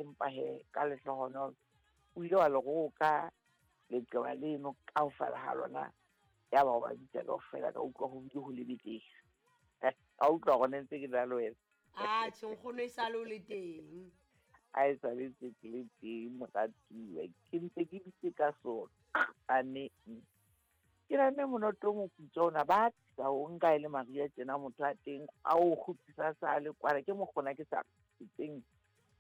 Empa he ka lehlohonolo o ile wa le roka leqeba leno kaofela ha lona, yaba o ba bitsa kaofela, ka utlwa ho bile ho le betere. Ka utlwa hore ne ntse ke na le wena. Atjhe nkgono e sale o le teng. A e sale ntse ke le teng moratuwa, ke ntse ke dutse ka sona ane. Ke nahane monoto o moputswa ona ba tlisa o nka e le mariha tjena motho a teng a o kgutlisa sa le kwana ke mokgona ke sa tseng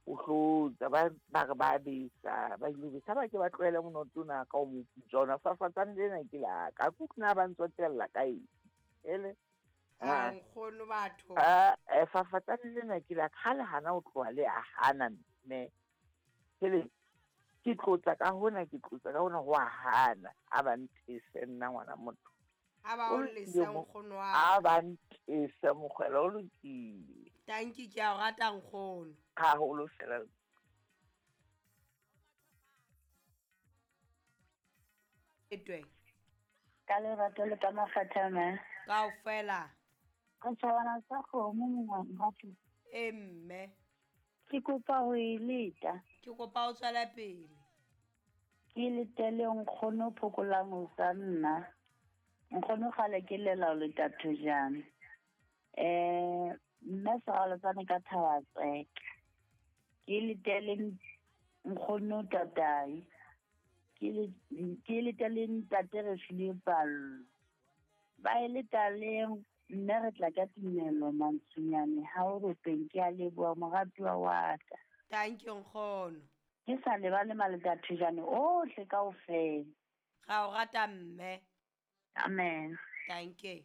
o hlotsa ba ba re ba besa ba ile besa ba ke ba tlohele monoto ona ka o moputswa ona fafatsane lena ke la ka kutlwe na ba ntsotella ka eng ele. A nkgono batho. A fafatsane lena ke la ka le hana o tloha le a hana mme hele ke tlotla ka hona ke tlotla ka hona ho a hana a ba ntese nna ngwana motho. A ba o lesa nkgono wa. A ba ntese mokgwela o lokile. Tanki ke a o rata nkgono. Haholo fela. Etwe. Ka lerato le ka makgetha mme. Kaofela. Re tjhabana sa kgomo mongwe. E mme. Ke kopa ho e leta. Ke kopa o tswela pele. Ke letele nkgono phokolang ho sa nna. Nkgono kgale ke lela ho leta thojana. Mme Seralotsane ka Thabatseke. Ke letele nkgono tatai. Ke letele ntate re file pallo. Ba e letaleng mme re tla ka tumelo mantsonyane ha o ropeng ke a leboha moratuwa wa ka. Thank you nkgono. Ke sa lebale maleta thojane ohle kaofela. Ra o rata mme. Amen. Thank you.